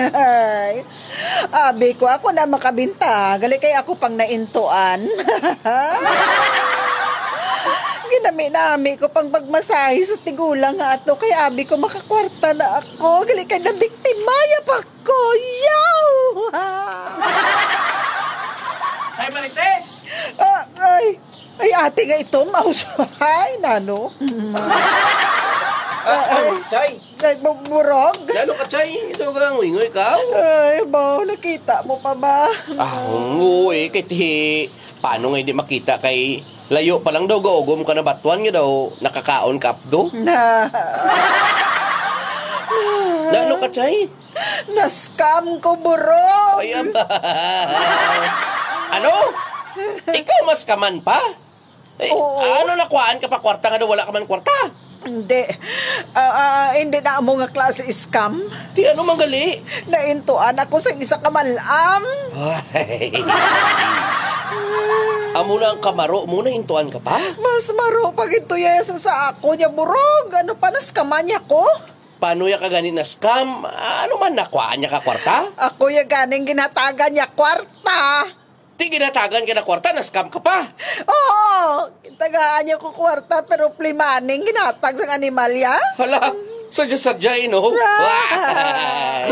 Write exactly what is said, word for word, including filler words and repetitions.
Ay, abi ko, ako na makabinta. Gali kay ako pang naintuan. Ginami-nami ko pang pagmasahe sa tigulang nga ato. Kay abi ko, makakwarta na ako. Gali kay nabiktima ya pa ko. Yaw! Chay Marites! Ah, ay, ay, ate nga ito, maus-, ay, nano? Ah, ay, Chay! Ay, bu- burog? Lalo ka, Chay? Ito ka, nguy-nguy ka? Ay, ba, nakita mo pa ba? Ah, oo eh. Kay ti, paano nga hindi makita kay layo pa lang daw gaugom ka na batuan nga daw nakakaon ka apdo? Na, Lalo ka, Chay? Na-scam ko, burog. Ay, aba. Ano? Ikaw mas kaman pa? Eh, Oo. Ano nakuhaan ka pa kwarta nga daw wala ka man kwarta? Hindi. Ah, ah, hindi na amo nga klase scam. Ti ano man gali? Naintuan ako sa isa ka malam. Ay. Amo na ang kamaro mo, naintuan ka pa? Mas maro pa gito yes sa ako niya, burog. Ano pa, na-scam-an niya ko? Paano ya ka gani na-scam? Ano man, nakuhaan niya ka kwarta? Ako ya ganing ginhatagan niya kwarta. Ti ginhatagan ka na kwarta, na-scam ka pa. Oo, tagaan niya ko kwarta pero free money ang ginhatag sang animal ya. Hala, sadya-sadya eh, no? Ah.